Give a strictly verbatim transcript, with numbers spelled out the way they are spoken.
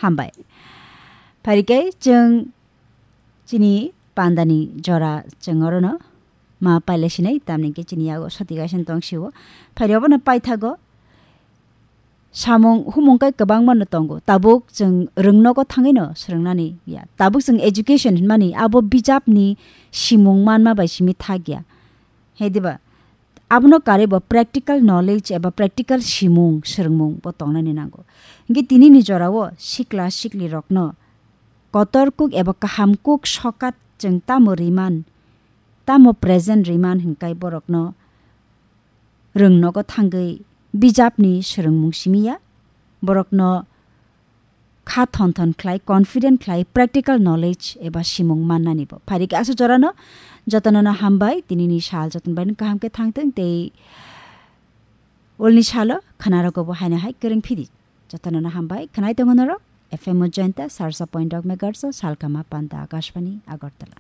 Hambai. Pharikai chwng chini pandani jora chwng orono ma paile sinai, tamni ke chini yago soti gaisen tong siwo. Phari obono paithago samung humung kai kwbangma no tongo. Tabuk chwng rwngnogo thangwi no swrwngnani ya. Tabuk chwng education hinmani abo bijapni simung manma bai simi thak ya. He diba? Abono karwi bo practical knowledge eba practical simung swrwngmung bo tongnani nango. Hingke tinini jorao sikla sikli rokno kotor kuk eba kaham kuk sokat chwng tamo riman, tamo present riman hinkai borokno rwngnogo thangwi bijapni swrwngmung simi ya. Borokno kha thon thon khlai, confident khlai, practical knowledge eba simung mannani bo. Phari khe aswk jorano jotono no hambai, tinini sal joton bai kaham khe thangthwng tei ulni salo khwnarogo bo haino hai kwrwng phidi. Jotono no hambai, khwnai tongo norok F M o jointa sarsa point dok megahertz o Salkama Panta Akashbani Agartala.